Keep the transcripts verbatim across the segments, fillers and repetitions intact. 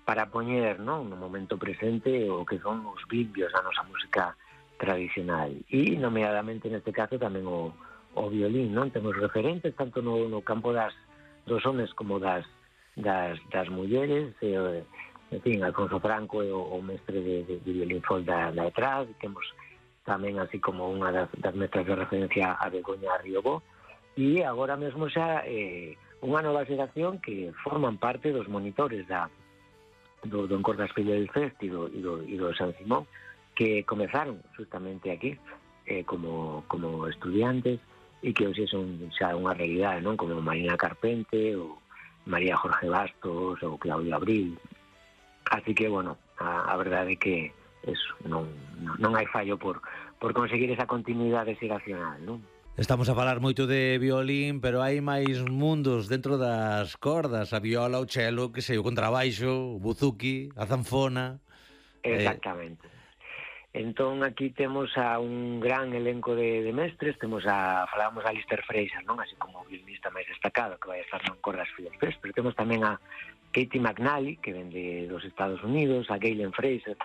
para poñer, non, no momento presente o que son os vimbios da nosa música tradicional. E, nomeadamente, neste caso, tamén o, o violín, non? Temos referentes tanto no, no campo das dos homes como das das, das mulleres, e, en fin, Alfonso Franco é o, o mestre de, de, de violín folk da, da detrás, e temos tamén así como unha das, das mestras de referencia a Begoña Riobó, e agora mesmo xa eh, unha nova xeración que forman parte dos monitores da, do, do Encordas Fillo del Fest e do, e do, e do San Simón, que comezaron justamente aquí eh, como, como estudiantes, e que hoxe son xa unha realidade, non? Como Marina Carpente, ou María Jorge Bastos, ou Claudio Abril. Así que, bueno, a, a verdade é que eso, non, non hai fallo por, por conseguir esa continuidade xeracional, non? Estamos a falar moito de violín, pero hai máis mundos dentro das cordas, a viola, o cello, que sei, o contrabaixo, o buzuki, a zanfona. Exactamente. Eh... Entón, aquí temos a un gran elenco de, de mestres, temos a, falábamos a Alistair Fraser, non? Así como o violinista máis destacado, que vai a estar no Encordas Fillo del Fest, pero temos tamén a Katie McNally, que ven de dos Estados Unidos, a Galen Fraser,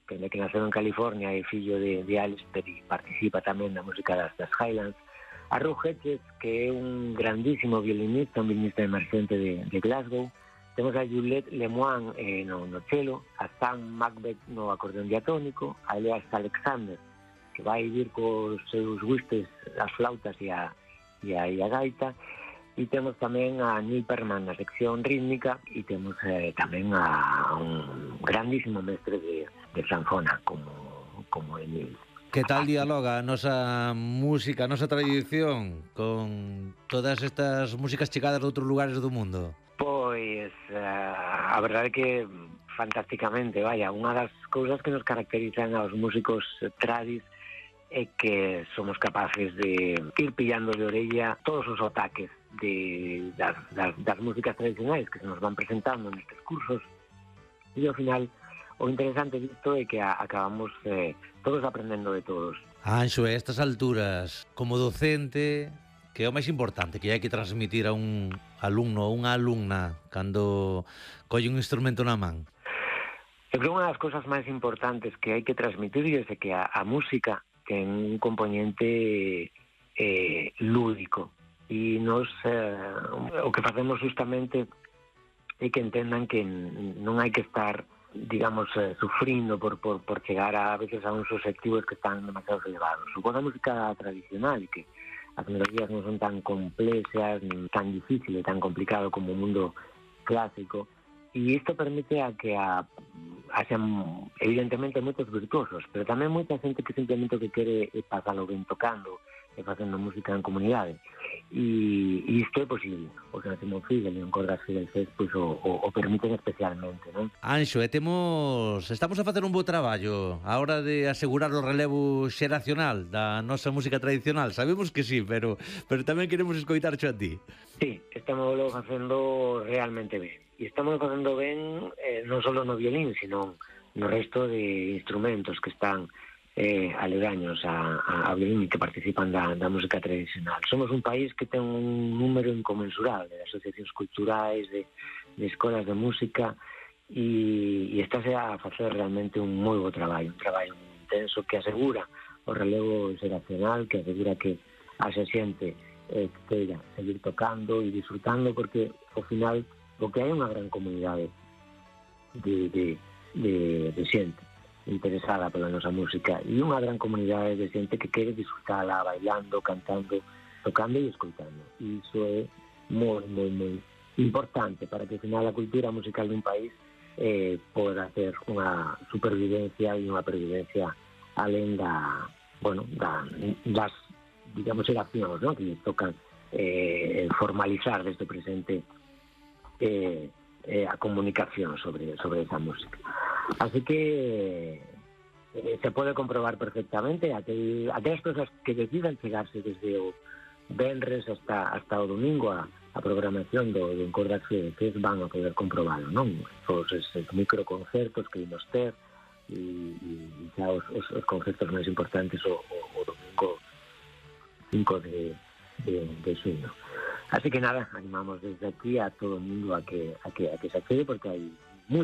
que, que naceu en California e fillo de, de Alistair e participa tamén na música das, das Highlands, a Rob Hedges, que é un grandísimo violinista, un violinista emerxente de, de Glasgow. Temos a Juliette Lemoine eh, no, no cello, a Sam Macbeth no acordeón diatónico, a Elias Alexander, que vai vir cos seus whistles, as flautas e a, e a, e a gaita, e temos tamén a Neil Perman na sección rítmica, e temos eh, tamén a un grandísimo mestre de, de zanfona, como, como Emil. Que tal dialoga a nosa música, a nosa tradición con todas estas músicas chegadas de outros lugares do mundo? Pois, uh, a verdade é que fantásticamente, vaya, unha das cousas que nos caracterizan aos músicos tradis é que somos capaces de ir pillando de orella todos os ataques de, das, das, das músicas tradicionais que se nos van presentando nestes cursos, e ao final o interesante disto é que a, acabamos eh, todos aprendendo de todos. Anxo, a estas alturas, como docente, que é o máis importante que hai que transmitir a un alumno ou unha alumna cando colle un instrumento na man? Eu creo que unha das cousas máis importantes que hai que transmitir é que a, a música ten un componente eh, lúdico, e nos eh, o que facemos justamente é que entendan que non hai que estar, digamos, eh, sufrindo por, por, por chegar a, a veces a uns objetivos que están demasiado elevados. Supondo a música tradicional, e que as melodías non son tan complexas, nin tan difíciles, tan complicado como o mundo clásico, e isto permite a que a, haxan, evidentemente, moitos virtuosos, pero tamén moita xente que simplemente que quere pasalo ben tocando e facendo música en comunidade, e, e isto é posible, o San Simón Fidel e o Encordas Fillo del Fest pois, o, o, o permiten especialmente, non? Anxo, e temos, estamos a facer un bo traballo a hora de asegurar o relevo xeracional da nosa música tradicional. Sabemos que sí, pero pero tamén queremos escoitar xo a ti. Sí, estamos facendo realmente ben, e estamos facendo ben eh, non só no violín, sino no resto de instrumentos que están eh, aledaños a, a, a violín e que participan da, da música tradicional. Somos un país que ten un número inconmensurable de asociacións culturais, de, de escolas de música, e, e estáse a facer realmente un moi bo traballo, un traballo intenso que asegura o relevo xeracional, que asegura que a xente eh, que queira seguir tocando e disfrutando, porque ao final o que hai unha gran comunidade de, de, de, de xente interesada pola nosa música, e unha gran comunidade de xente que quere disfrutala bailando, cantando, tocando e escoitando. E iso é moi, moi, moi importante para que ao final a cultura musical dun país eh, poda ter unha supervivencia e unha pervivencia alén da, bueno, da, das, digamos, xeracións, ¿no?, que tocan eh, formalizar desde o presente eh, eh, a comunicación sobre, sobre esa música. Así que eh, se pode comprobar perfectamente aquel, aquelas persoas que decidan chegarse desde o venres hasta, hasta o domingo a, a programación do, do Encordas Fillo del Fest van a poder comprobalo, non? Todos esos microconcertos que imos ter, e, e xa os, os, os concertos máis importantes o, o, o domingo cinco de, de, de xuño. Así que nada, animamos desde aquí a todo o mundo a que, a que, a que se accede, porque hai